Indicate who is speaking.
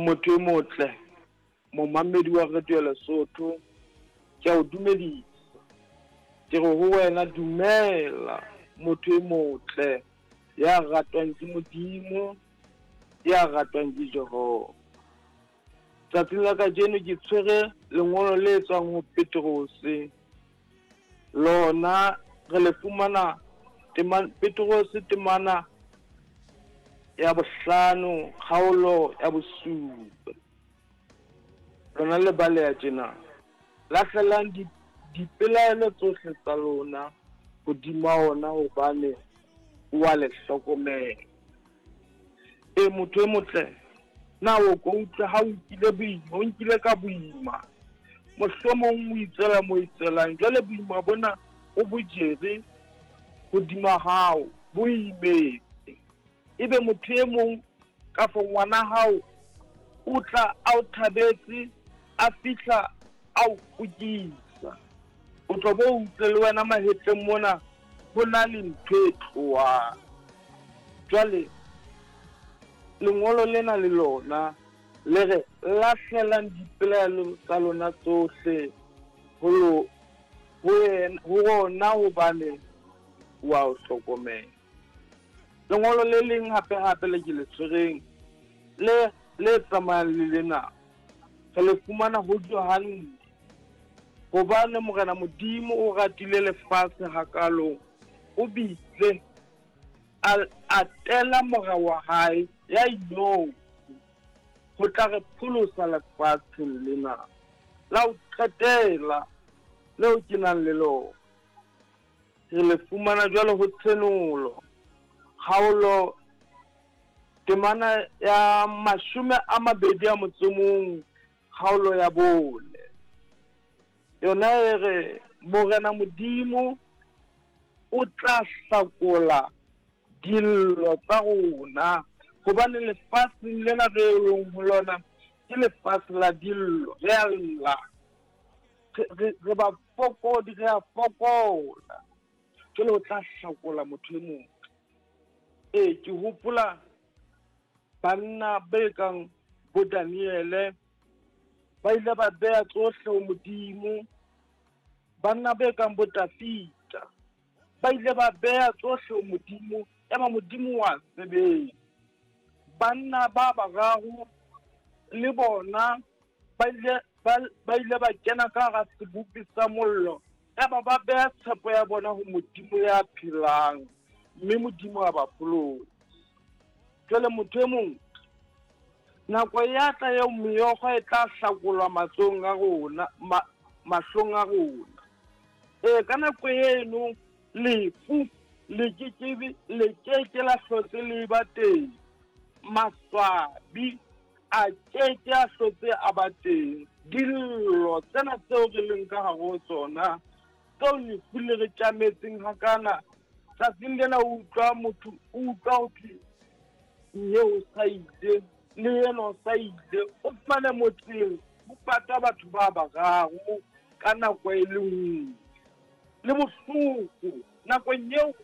Speaker 1: Motho e motle, momamedi wa Radio ya Lesotho, ke a o dumedisa. Ke re ho wena dumela motho e motle ya ratwang ke Modimo, ya ratwang ke Jehova. Tsatsing la kajeno ke tshwere lengolo le tswang ho Petrose. Lona re le fumana Petrose temana ya bohlano kgaolo ya bosupa. Lona le baleha tjena. Lahlelang dipelaelo tsohle tsa lona hodima ona hobane o a le hlokomela. E motho e motle, na o ko utlwe ha o nkile boima, o nkile ka boima. Mohlomong o itswela mo itswelang, jwale boima bona o bo jere hodima hao, bo imetse. Ebe motho e mong kafo ngwana hao o tla a o thabetse, a fihla a o kukisa. O tlo bo utlwe le wena mahetleng mona ho na le ntho e tlohang. Jwale lengolo lena le lona le re lahlelang dipelaelo tsa lona tsohle ho rona hobane wa o hlokomela. Lengolo le leng hape hape le ke le tshwereng le le tsamayang le lena re le fumana ho Johanne. Hobane Morena Modimo o ratile lefatshe hakalo, o bile a tela mora wa hae ya inotshi ho tla re pholosa lefatsheng lena la ho qetela leo ke nang le lona. Re le fumana jwalo ho Tshenolo, kgaolo temana ya 21, kgaolo ya 4. Yona e re Morena Modimo o tla hlakola dillo tsa rona, hobane lefatsheng lena re leng ho lona ke lefatshe la dillo. Re a lla, re ba fokodi, re a fokola. Jwale o tla hlakola motho e mong. Ee, ke hopola banna be kang bo Daniele ba ile ba beha tsohle ho Modimo. Banna be kang bo Dafita ba ile ba beha tsohle ho Modimo, ema Modimo wa sebetsa. Banna ba bararo le bona ba ile ba kena ka hara sebopi sa mollo, eba ba beha tshepo ya bona ho Modimo ya phelang, mme Modimo a ba pholosa. Jwale motho e mong, nako ya tla eo meokgo e tla hlakolwa matsong a rona, mahlong a rona. Ee, ka nako eno lefu le ke ke la hlotse le ba teng, maswabi a ke ke a hlotse a ba teng. Dillo tsena tseo re leng ka hare ho tsona, tseo lefu le re tjametseng hakana, tsatsing lena o utlwa motho, o utlwa ho thwe mme o sa ile, le yena o sa ile. O fumane motseng ho pata batho ba bararo ka nako e le nngwe, le bohloko nakong eo.